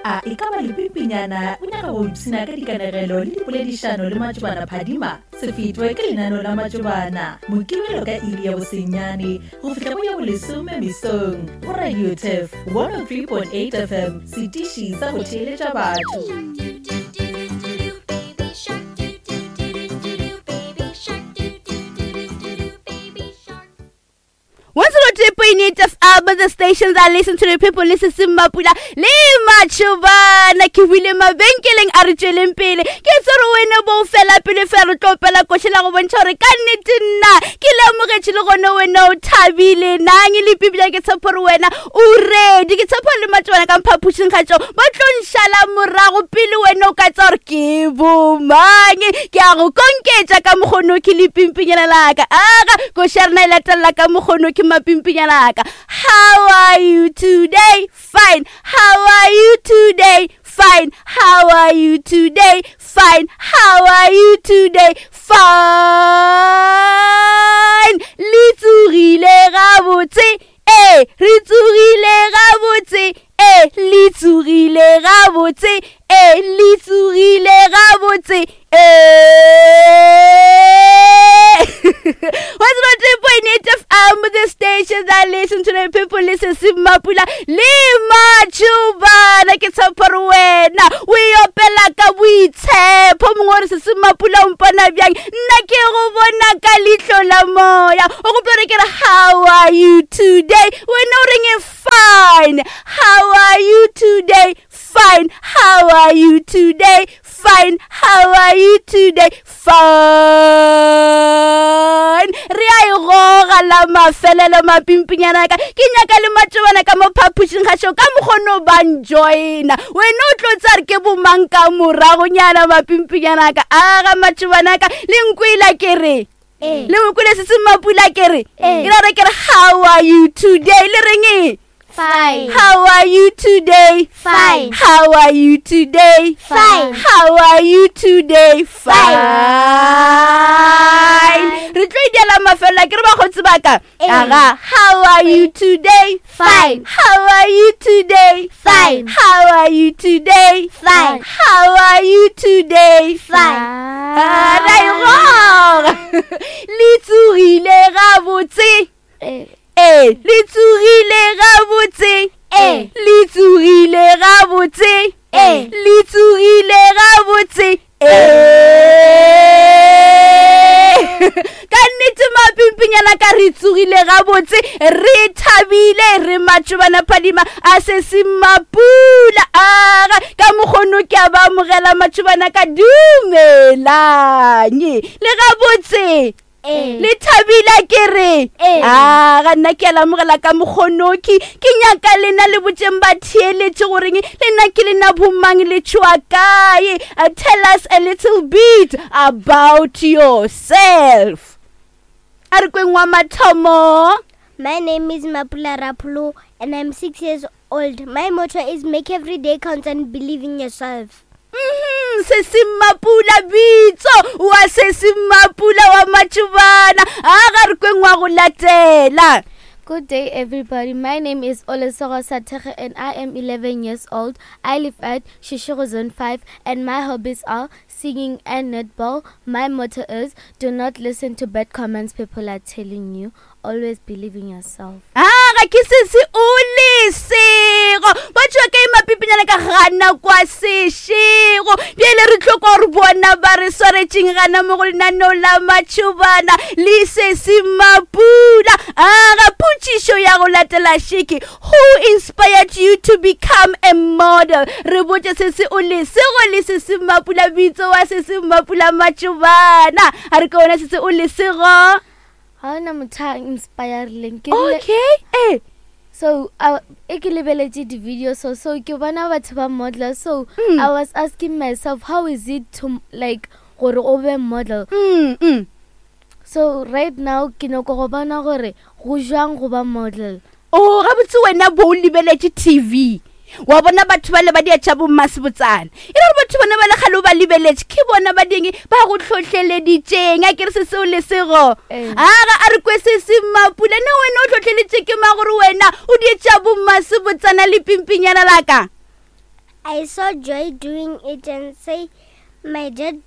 A e ka ba lepimpinyana o nyaka go ipshina ka dikanegelo le dipoledišano le Matšobana Phadima? Se fetwe ke lenaneo la Matšobana, Mokibelo ka iri ya bosenyane go fihla go ya bolesome mesong go Radio Turf 103.8 FM, setiši sa go theeletša batho. 103.8 FM, the stations that listen to the people, listen to Mapula, le Machubana, ke buile mabenkeleng a re tšweleng pele. Ke tsere wena bo fela pele fela re tlo opela koše la go bontšha gore ka nnete nna ke lemogetše le gone wena o thabile nang le pibila ke tshepo gore wena o ready ke tshepo le matšobana ka mphapošing ga tšeo ba tlo nšala morago pele wena o ka tsa gore ke bomang ke a go konketša ka mokgono ke lepimpinyana laka aga koši ya rena e latelela ka mokgono ke mapimpinyana aka how are you today fine how are you today fine how are you today fine how are you today fine le tsogile gabotse ee re tsogile gabotse ee le tsogile gabotse ee le tsogile gabotse ee 103.8 FM, the station that listen to the people, listen to Mapula, le Machubana, ke tshepa gore wena o e opela ka boitshepo mongwe gore se se Mapula o mpona bjang nna ke go bona ka leihlo la moya o gopola gore ke re how are you today wena o reng fine how are you today fine how are you today fine how are you today fine re a e goga la mafelelo mapimpinyana ka ke nyaka le matšobana ka mo phapošing ga šo ka mokgono ba njoina wena o tlo tsare ke bomang ka moragonyana mapimpinyana ka aga matšobana ka le nkwela ke re eh. le nkwele se se mapula ke re eh. ke ra ke re how are you today le reng e Fine. How are you today? Fine. How are you today? Fine. How are you today? Fine. Re tlo ideela mafelo ke re bakgotsi ba ka. Eh. Aga, how are you today? Fine. How are you today? Fine. How are you today? Fine. How are you today? Fine. Ah, ra e goga. Le tsogile gabotse. Eh. Ee, le tsogile gabotse. Ee. Le tsogile gabotse. Ee. Le tsogile gabotse. Ee. Ka nnete mapimpinyana ka re tsogile gabotse re thabile re matšobana phadima a se se mapula aga ka mokgono ke a ba amogela matšobana ka dumelang le gabotse Ee. le thabile ke re Ee. a ga nna ke a lamogela ka mokgonoki ke nyaka lena le botseng ba theeletše goreng lena ke lena bomang le tšhoa kae Uh, tell us a little bit about yourself a re kweng wa mathomo My name is Mapula Rapulu and I'm six years old. My motto is make every day count and believe in yourself. Mhm, se se mapula bitso wa se se mapula wa matšobana a ga re kweng wa go latela Good day, everybody. My name is Olesoro Satere and I am 11 years old. I live at Shishiro Zone 5 and my hobbies are singing and netball. My motto is do not listen to bad comments people are telling you. Always believe in yourself. a ga ke se se o lesego ba tšwa ka emapipinyana ka gana kwa sešego bjale re tlo kwa gore bona ba re swaretšeng gana mo go lenaneo la matšhobana le se se mapula a ga potšišo ya go latela šeke who inspired you to become a model re botše se se o lesego le se se mapula bitso wa se se mapula matšhobana a re ka wena se se o lesego Ga ona motho a inspirileng. Ke rile- okay eh So e ke lebeletše di-video so so ke bona batho ba model so Mm. I was asking myself how is it to like gore o be model mm, mm. so right now ke nyako go bona gore go jwang go ba model o Oh, gabotse wena bo o lebeletše tv wa bona batho ba le ba dia tša bommasebotsana e re gore batho bona ba le kgale o ba lebeletše ke bona ba ding ba go tlhotlheleditšeng a ke re se seo lesego Ee. aga a re kwe se se mapula ne wena o tlhotlheletše ke ma gore wena o die tša bommasebotsana le pimpinyana laka I saw Joy doing it and say, my dad,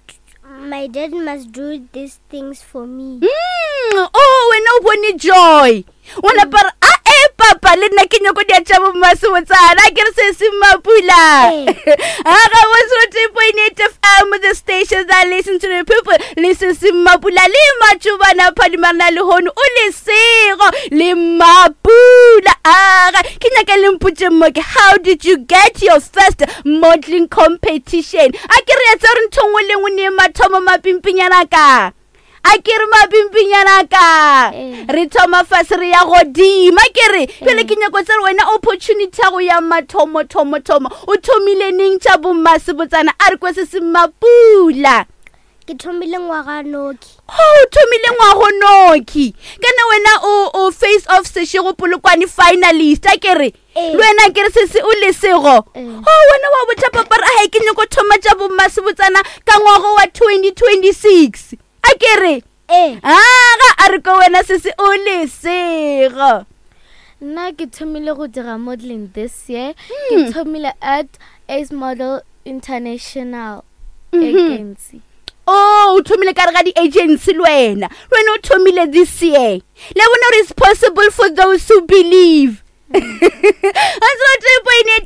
my dad must do these things for me. Oh, wena o bone Joy. O napa re, a e papa le nna ke nyako dia tša bommasebotsana ke re se se mapula. A ga 103.8 FM, the station that listen to the people. Le se se mapula le matšobana phadimarena le hono o lesego le mapula. Aga ke nyaka le mpotše mo ke, how did you get your first modeling competition? A ke re ya tsa gore ntho nngwe le nngwe ne mathomo mapimpinyana ka. A ke re mapimpinyana ka. Re thoma fase re ya godimo. A ke re pele ke nyako tsere wena opportunity ya go ya mathomo thomo thomo. O thomile neng tša bommasebotsana? A re kwe se se mapula. Ke thomile ngwaga noki. Oh, o thomile ngwago noki. Kana wena o face off Seshego Polokwane finalist. A ke re le wena ke re se se o lesego. Oh, wena wa botša papa re ai ke nyako thoma tša bommasebotsana ka ngwago wa 2026. A ke re aga a re ko wena se se o lesego. Nna ke thomile go dira modeling this year. Ke thomile at Ace Model International Agency. Oh, o thomile ka re ga di-agency le wena. Le wena o thomile this year. Le bona gore it's possible for those who believe. 103.8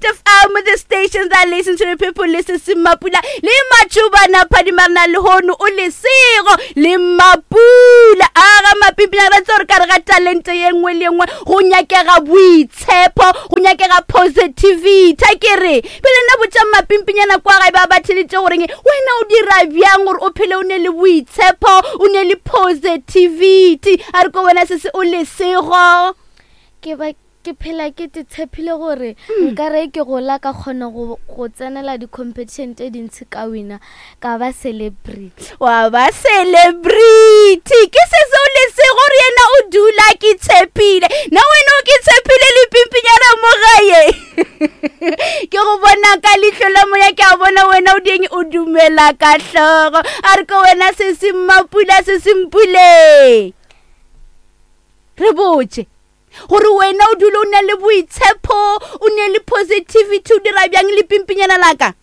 FM, the station that listen to the people, listen to Mapula. Le matšobana phadimarena le hono o lesego le Mapula. Aga mapimpina re tsore ka re ga talente ye nngwe le nngwe go nyakega boitshepo, go nyakega positivity. A ke re pele nna botša mapimpinyana kwa gae ba ba theletše goreng wena o dira bjang gore o phele o ne le boitshepo, o ne le positivity. A re ko wena se se o lesego. Ke ba ke phela ke te tshepile gore nka re ke gola ka kgona go tsenela di-competition tše dintsi ka wina ka ba celebrity. Wa ba celebrity. Ke se seo le se gore yena o dula ke tshepile. Na wena o ke tshepile le pimpinyana mo gae. Ke go bona ka leihlo la moya, ke a bona wena o dieng o dumela ka hlogo. A re ko wena se se mmapula se se mpule. Re botše gore wena o dule o na le boitshepo, o ne le positivity, o dira bjang le pimpinyana laka?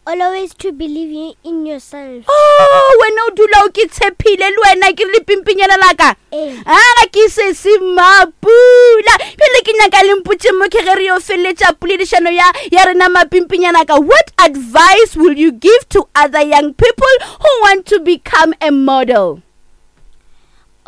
Always to believe in yourself. Oh, wena o dula o ke tshepile le wena ke le pimpinyana laka. A ga ke se se mapula. Pele ke nyaka le mpotše mo ke ge re yo feleletša poledišano ya rena mapimpinyana ka. What advice will you give to other young people who want to become a model?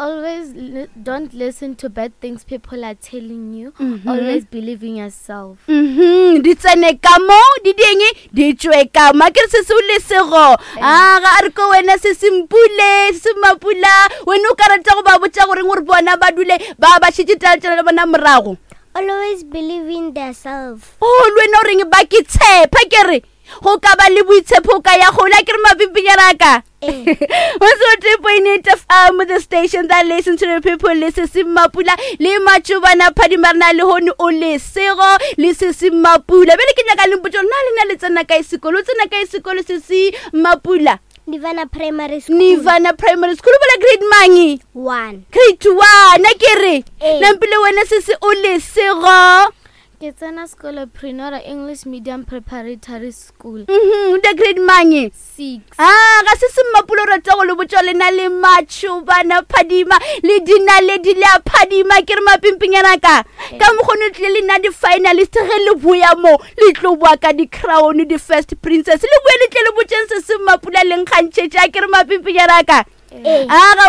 Always don't listen to bad things people are telling you. Always believe in yourself. Di tsene ka mo, di dieng, di tšwe ka mo. A ke re se se o lesego. A ga a re ko wena se se mpule, se se mapula. Wena o ka rata go ba botša goreng gore bona ba dule ba ba šetše taletšana le bona morago? Always believe in themselves. Oh, le wena o reng ba ke tshepa ke re go ka ba le boitshepo ka ya gola ke re mapimpinyana ka. 103.8 FM, the station that listen to the people, le se se mapula le matšobana phadimarena le hono o lesego le se se mapula. Bjale ke nyaka le mpotše gore na le na le tsena kae sekolo? O tsena kae sekolo se se mapula? Nirvana Primary School. Nirvana Primary School. O bola grade mang? 1. Grade 1, a ke re. Nampile wena se se o lesego. Ke tsena sekolo Prenora English Medium Preparatory School. O da grade mang? 6. Ah, ga se se mmapulo rata go le botša lena le matšobana phadima le dinaledi le a phadima ke re mapimpinyana ka. Ka mokgwa o tlile le nna di-finalist ge le boya mo le tlo boa ka di-crown di-first princess le boe le tle le botšeng se se mmapula le nkgantšhetše a ke re mapimpinyana ka. Aga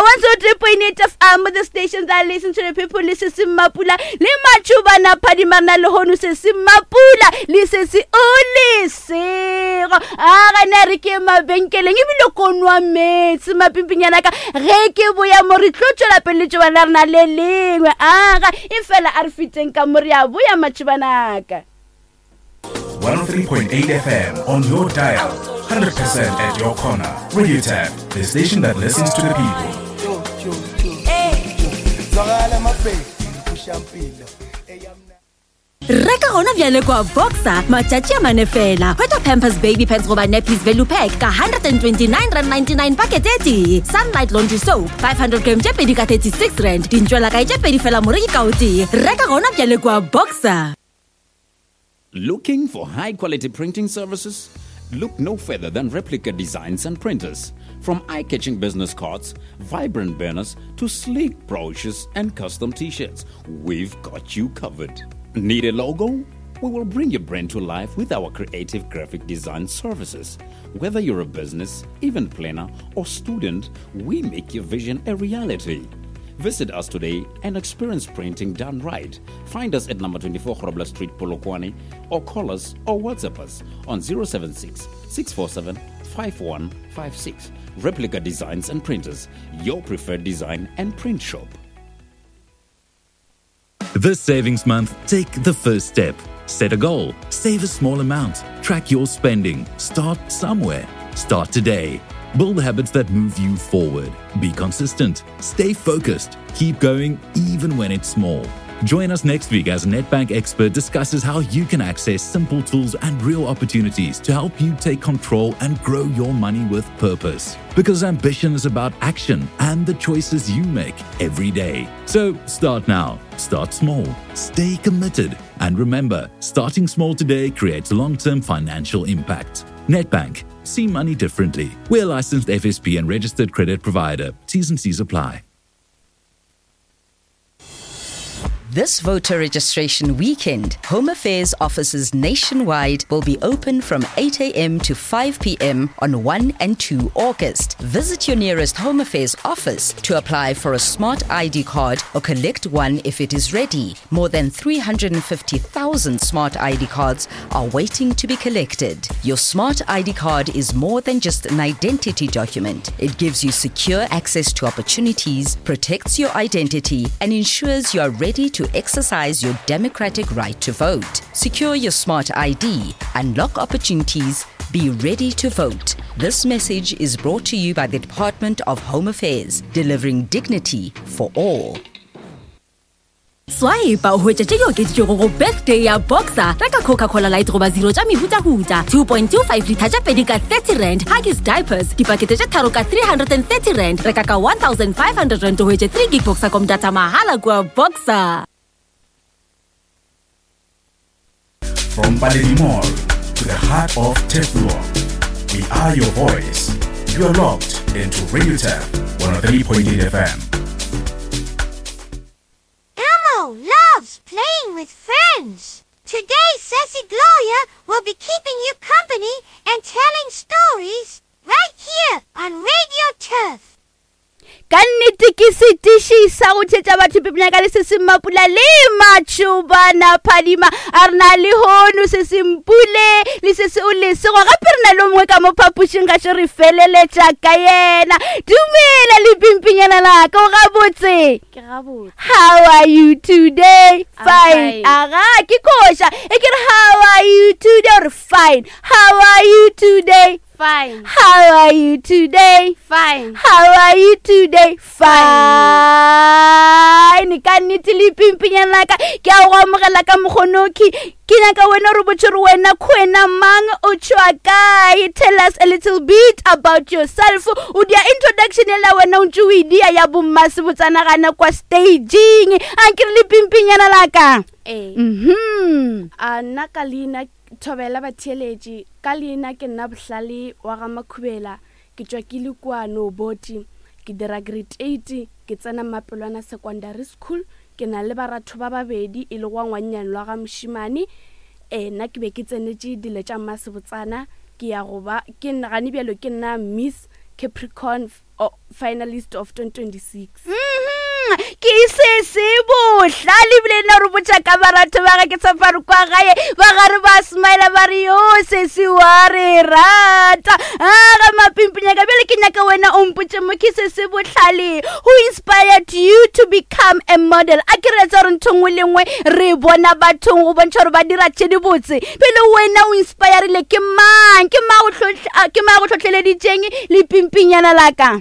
103.8 FM, the station that listen to the people, le se se mapula le matšobana phadimana le hono se se mapula le se se o lesego. Aga na re ke mabenkeleng ebile ko nwa meetse mapimpinyana ka ge ke boya mo re tlo tšwela pele letšobana la rena le lengwe. Aga e fela a re feteng ka mo re a boya matšobana ka. 103.8 FM on your dial, 100% at your corner. Radio Tap, the station that listens to the people. Reka gona bjale kwa Boxer matšatši a mane fela. Hwetša Pampers Baby Pants goba Nappies Value Pack ka R129.99 pakete e tee. Sunlight Laundry Soap 500 gram tše pedi ka R36. Dintšwela kae tše pedi fela moreki ka o tee. Reka gona bjale kwa Boxer. Looking for high quality printing services? Look no further than Replica Designs and Printers. From eye catching business cards, vibrant banners, to sleek brochures and custom t shirts, we've got you covered. Need a logo? We will bring your brand to life with our creative graphic design services. Whether you're a business, event planner, or student, we make your vision a reality. Visit us today and experience printing done right. Find us at number 24 Grobler Street, Polokwane, or call us or WhatsApp us on 076 647 5156. Replica Designs and Printers, your preferred design and print shop. This savings month, take the first step. Set a goal, save a small amount, track your spending, start somewhere. Start today. Build habits that move you forward. Be consistent, stay focused, keep going even when it's small. Join us next week as Nedbank expert discusses how you can access simple tools and real opportunities to help you take control and grow your money with purpose. Because ambition is about action and the choices you make every day. So start now, start small, stay committed, and remember starting small today creates long term financial impact. Nedbank, see money differently. We're a licensed FSP and registered credit provider. T's and C's apply. This voter registration weekend, Home Affairs offices nationwide will be open from 8 a.m. to 5 p.m. on 1 and 2 August. Visit your nearest Home Affairs office to apply for a smart ID card or collect one if it is ready. More than 350,000 smart ID cards are waiting to be collected. Your smart ID card is more than just an identity document. It gives you secure access to opportunities, protects your identity, and ensures you are ready to exercise your democratic right to vote. Secure your smart ID, unlock opportunities, be ready to vote. This message is brought to you by the Department of Home Affairs, delivering dignity for all. Swipe o hwetša tše di okeditšwego go birthday ya boxer reka coca-cola light goba zero tša mehutahuta 2.25 litha tša pedi ka 30 rand huggies diapers dipakete tše tharo ka 330 rand reka ka 1500 rand o hwetše 3 gig boxercom data mahala kua boxer From Paledi Mall to the heart of Teflon, we are your voice. You are locked into Radio Tef 103.8 FM. Elmo loves playing with friends. Today, Sassy Gloria will be keeping you company and telling stories right here on Radio Turf. Ka nnete ke setiši sa go tšhetša batho pepenya ka le se se mapula le matšhobana phadima a re na le hono se se mpule le se se o lesego gape re na le mongwe ka mo phapošing ga še re feleletša ka yena dumela le pimpinyana laka o gabotse Ke gabotse. How are you today? I'm Fine. fine. Aga, ke koša. E ke re how are you today? Or fine. How are you today? Fine. How are you today? Fine. How are you today? Fine. Ka nnete le pimpinyana la ka ke a go amogela ka mokgonoki ke nyaka wena re botse gore wena kgwena mang o tšwa kae tell us a little bit about yourself o dia introduction ela wena o ntse o e dia ya bommasebotsana gana kwa staging a ke re le pimpinyana la ka Ee. mhm A nna ka leina thobela batheeletši ka leina ke nna bohlale wa ga makhubela ke tšwa ke le kua noboti ke dira grade 8 ke tsena mapelwana secondary school ke na le baratho ba babedi e le gwa ngwannyane lwa ga mošimane um nna ke be ke tsenetše dilo tša mmasebotsana ke ya go ba ke nna gane bjalo ke nna miss capricorn finalist of 2026 Mhm, ke se se bohlale ebile nna re botša ka baratho ba ga ke safari kwa gae ba gare ba smile ba re yo sesi wa re rata a ga mapimpinyaka bjale ke nyaka wena o mpotše mo ke se se bohlale who inspired you to become a model a ke re etsa gore ntho nngwe le nngwe re bona bathong go bontšha gore ba dira tše dibotse pele wena o inspirile ke mang ke mang go hlohla- a, ke mang go hlohleleditšeng le pimpinyana la ka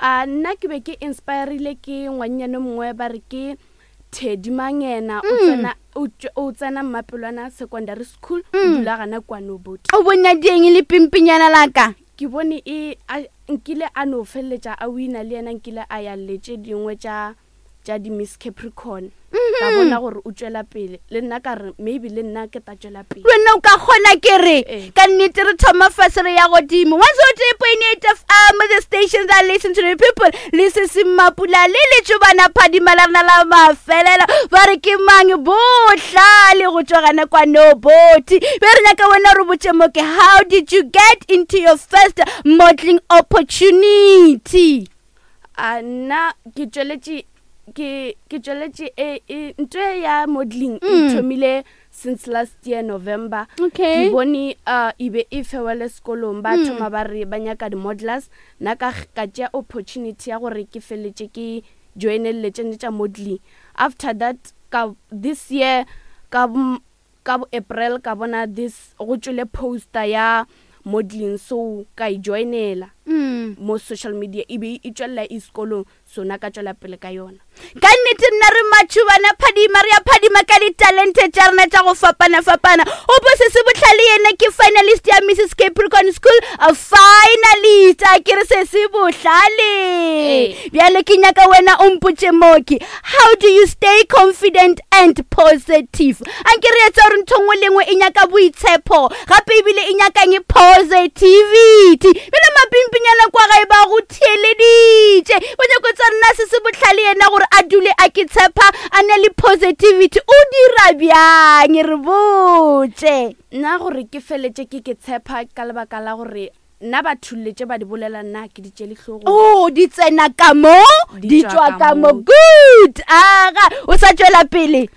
A nna ke be ke inspirile ke ngwannyane mongwe ba re ke Teddy Mangena o tsena o tšwa- o tsena Mmapelwana Secondary School o dula gana kwa Noboti. O bona dieng le pimpinyana la ka? Ke bone e a nkile a no feleletša a wina le yena nkile a ya le tše dingwe tša tša di-Miss Capricorn. Ka bona gore o tšwela pele le nna ka re maybe le nna ke ta tšwela pele. Wena o ka kgona ke re ka nnete re thoma fase re ya godimo. 103.8 FM, the station that listen to the people. Le se se Mapula le letšobana phadima la rena la mafelelo. Ba re ke mang bohlale go tšwa gana kwa Noboti. Be re nyaka wena re botše mo ke how did you get into your first modeling opportunity? A nna ke tšweletše ke ke tšweletše e e ntho e ya modeling e mm. thomile since last year November. Okay. Ke bone uh, e be e fewele sekolong ba mm. thoma ba re ba nyaka di-modelers nna ka ka tšea opportunity ya gore ke feletše ke joinelele tšene tša modeling after that ka this year ka ka bo April ka bona this go tšwele poster ya modeling so ka e joinela mm. mo social media e be e tšwelela e sekolong so na ka tšwela pele ka yona ka nnete nna re matšhubana phadima re ya phadima ka ditalente tša rena tša go fapana-fapana opo se se bohlale yena ke finalist ya Mrs Capricorn School a finalist a ke re se se bohlale bjale ke nyaka wena o mpotše moki How do you stay confident and positive? Anke re etsa gore ntho nngwe le nngwe e nyaka boitshepo gape ebile e nyakang positivity. Bjale mapimpinyana kwa gae ba go theeleditše ba nyako tsa nna se se bohlale yena gore a dule a ke tshepa a na le positivity o dira bjang re botše. Nna gore ke feletše ke ke tshepa ka lebaka la gore Nna batho le tše ba di bolela nna ke di tšele hlogong. Oh, di tsena ka mo, di tšwa ka mo. Good. Aga, o sa tšwela pele.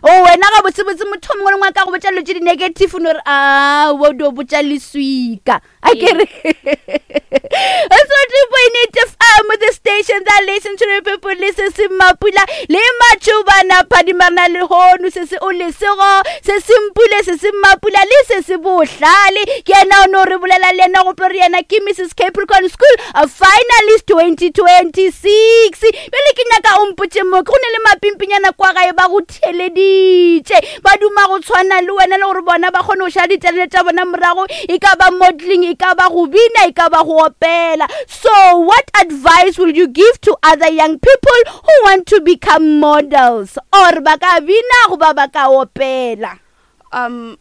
O oh, wena ga botsebotse motho mongwe le mongwe a ka go botša dilo tše di-negative o no re a o dio botša leswika. A ke re. 103.8 FM, the station that listen to the people, listen se Mapula le Matšhobana phadimarena le hono se se o lesego se se mpule se se Mapula le se se bohlale ke yena o no re bolela le yena gope re yena ke Mrs Capricorn School a finalist 2026 bjale ke nyaka o mpotše mo go ne le mapimpinyana kwa gae ba go theleditše ba duma go tshwana le wena le gore bona ba kgone go šala diterene tša bona morago e ka ba modeling e ka ba go bina e ka ba go opela so what advice will you give to other young people who want to become models or ba ka bina goba ba ka opela um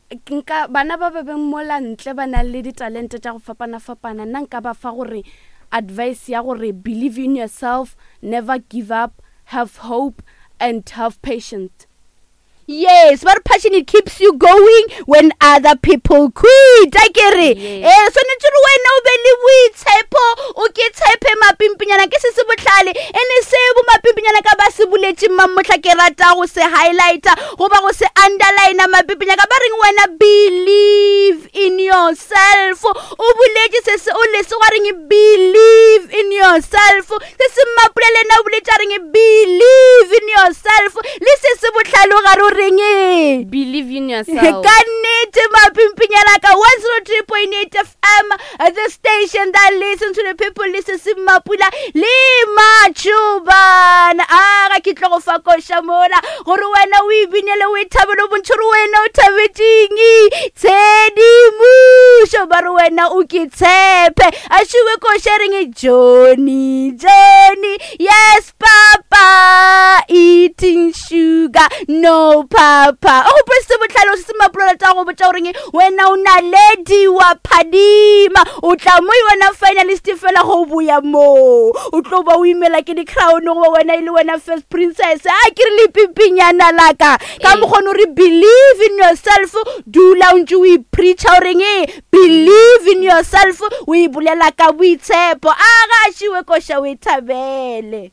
nka bana ba ba beng mola ntle ba nang le ditalente tša go fapana-fapana nna nka ba fa gore advice ya gore believe in yourself never give up have hope and have patience Yes, ba re passion it keeps you going when other people quit. A ke re, eh swanetše gore wena o be le boitshepo, o ke tshepe mapimpinyana ke se se bohlale. Ene se bo mapimpinyana ka ba se boletše mamohla ke rata go se highlighter goba go se underline mapimpinyana ka ba reng wena believe in yourself. O boletše se se o lese gwa reng believe in yourself. Se se mmapula le yena o boletše a reng believe in yourself le se se bohlale o gare o reng believe in yourself ka nnete mapimpinyana ka 103.8 fm the station that listen to the people le se se mmapula le matšhobana a ga ke tlo go fa koša mola gore wena o e binele o e thabele o bontšhe gore wena o thabetšeng tshedimošo ba re wena o ke tshepe a šiwe koša reng johnny johnny yes papa eating sugar no papa o gopole se botlhale o se se mapolola tsa go botša goreng wena o naledi wa phadima o tla mo wena finalist fela go boya moo o tlo ba o imela ke di-crown goba wena e le wena first princess a ke re lepimpinyana laka ka mokgone o re believe in yourself dula o ntse o ipreacha o reng believe in yourself o e bolela ka boitshepo a ga a šiwe koša o e thabele.